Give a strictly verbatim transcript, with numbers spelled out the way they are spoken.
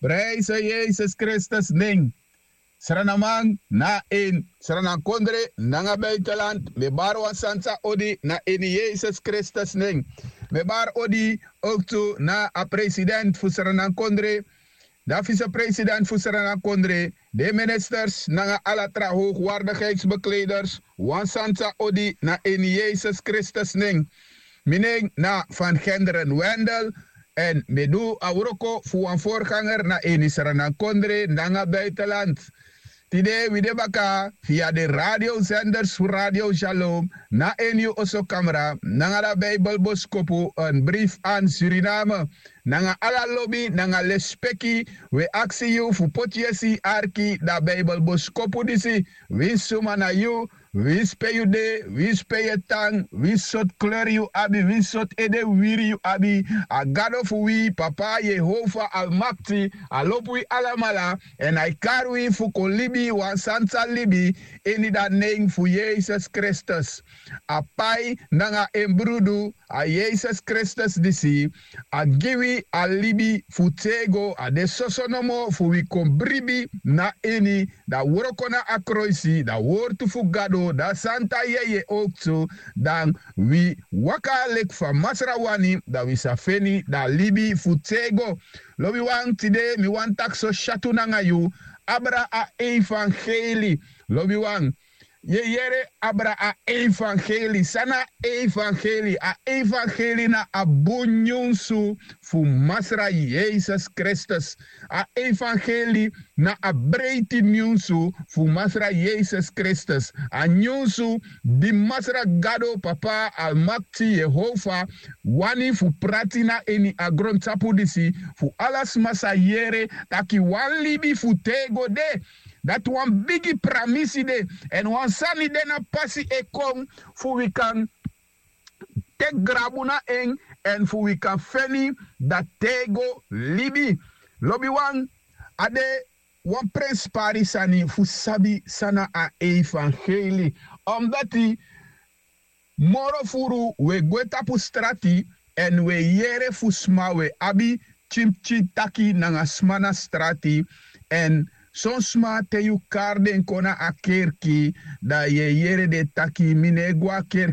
Prijse Yesus Kristus nen. Sranaman na ini sranankondre nanga buitenland, mi e bari wan santa odi na ini Yesus Kristus nen. Mi e bari odi ook tu na a president fu sranankondre, dan vicepresident fu sranankondre, den ministers nanga ala tra hoogwaardigheidsbekleders, wan santa odi na ini Yesus Kristus nen. Mi nen na Van Genderen Wendel, èn mi e du a wroko fu wan voorganger na ini sranankondre nanga buitenland. Tide wi de baka via den radiosenders fu Radio Shalom na ini yu osokamra nanga da Bijbelboskopu, een brief aan Suriname. Nanga ala lobi nanga lespeki, wi e aksi yu fu poti yesi arki da Bijbelboskopu disi. Winsi suma na yu, winsi pe yu de, winsi pe yu e tan, winsi sortu kleri yu abi, winsi sortu ede wiwiri yu abi, a Gado fu wi, Papa Yehova Almakti, a lobi wi alamala, èn a e kari wi fu kon libi wan santa libi ini da nen fu Yesus Kristus. A pai nanga en brudu, a Yesus Kristus disi, a gi wi a libi fu tego, a de soso nomo fu wi kon bribi na ini, da wroko na a kroisi, da wortu fu Gado, da santa yeye oktu, dan wi waka leki fa Masra wani, da wi sa feni da libi fu tego. Lobiwan, tide mi wani taki so syatu nanga yu, abra a evangeli. Lobiwan, yu e yere, abra a evangeli. San na a evangeli? A evangeli na a bun nyunsu fu Masra Yesus Kristus. A evangeli na a breiti nyunsu fu Masra Yesus Kristus. A nyunsu di Masra Gado, Papa Almakti, Yehova, wani fu prati na ini a grontapu disi, fu ala sma sa yere taki wan libi fu tego de. Dati wan bigi pramisi de, èn wan sani de na pasi e kon fu wi kan teki grabu na en, èn fu wi kan feni da tego libi. Lobiwan, a de wan prenspari sani fu sabi san na a evangeli. Omdati moro furu wi e gwe tapu strati, èn wi e yere fu sma, wi e abi pikinpikin taki nanga sma na strati, èn son sma, te yu kari den kon na a kerki, da yu e yere den taki: mi no e go a kerki.